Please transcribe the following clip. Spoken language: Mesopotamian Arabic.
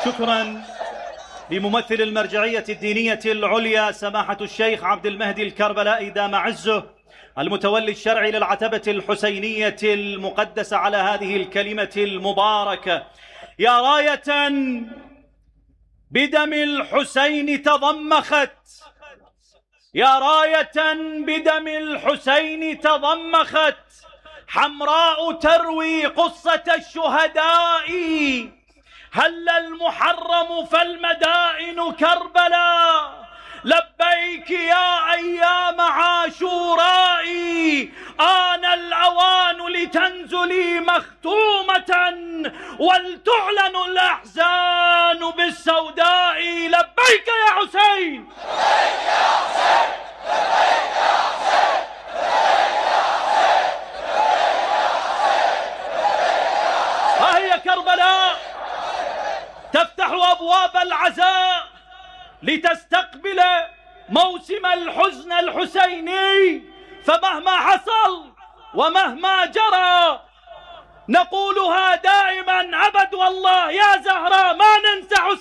شكرا لممثل المرجعية الدينية العليا سماحة الشيخ عبد المهدي الكربلائي دام عزه، المتولي الشرعي للعتبة الحسينية المقدسة، على هذه الكلمة المباركة. يا راية بدم الحسين تضمخت، يا راية بدم الحسين تضمخت، حمراء تروي قصة الشهداء، هل المحرم فالمدائن كربلاء، لبيك يا أيام عاشوراء، آن الأوان لتنزلي مختومة ولتعلن الأحزان بالسوداء، لبيك يا حسين، لبيك يا حسين، لبيك يا حسين، لبيك يا حسين، لبيك يا حسين. ها هي كربلاء تفتح أبواب العزاء لتستقبل موسم الحزن الحسيني، فمهما حصل ومهما جرى نقولها دائما أبد، والله يا زهراء ما ننسى حسين.